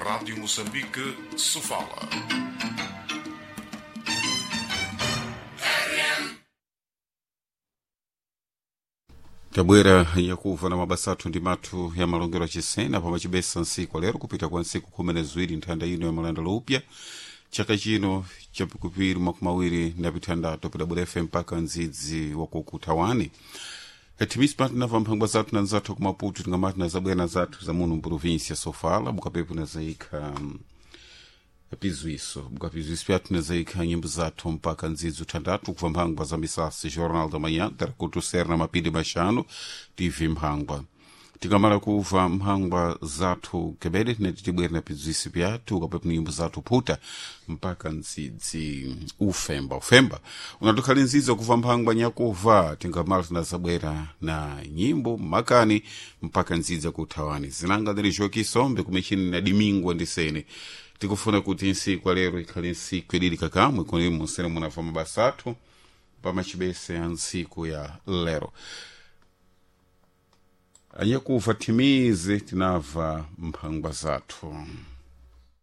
Rádio Moçambique, Sofala. Tabwera yakuva na mabasa athu ndi mathu ya malongero achisena pamachibesa ntsiku lero kupita kwa ntsiku 12 nthanda ino ya malanda loupya chaka chino chapikupiri makumi awiri na pithandatu pidabwera fm mpaka ndzidzi wakukuthawani timisi pano tinamva mphangwa zathu na nzathu kumaputu tingamati na zabwera zathu za muno mprovinsia sofala bukapepo na zaikha pizwiso bukapizwiso pyathu na zaikha nyimbo zathu mpaka ndzidzi uthandatu kubva mphangwa za misasi jornal da manhã darakutu ser na mapindi maxanu tv mphangwa. Tikamala kuva mphangwa zathu kebede tinati tibwere na pizwisi pyathu kapepo nyimbo zathu phuta mpaka ndzidzi ufemba ufemba unatukhali ndzidzi wakuva mphangwa nyakuva tingamala tinazabwera na nyimbo makani mpaka ndzidzi akuthawani zinanga ndili joki sombe kumechini na dimingwa ndisene tikufuna kuti nsiku alero ikhale nsiku idili kakamwe kuni musene munamva mabasa athu pamachibese a ntsiku ya lero anyakuva timize tinamva mphangwa zathu.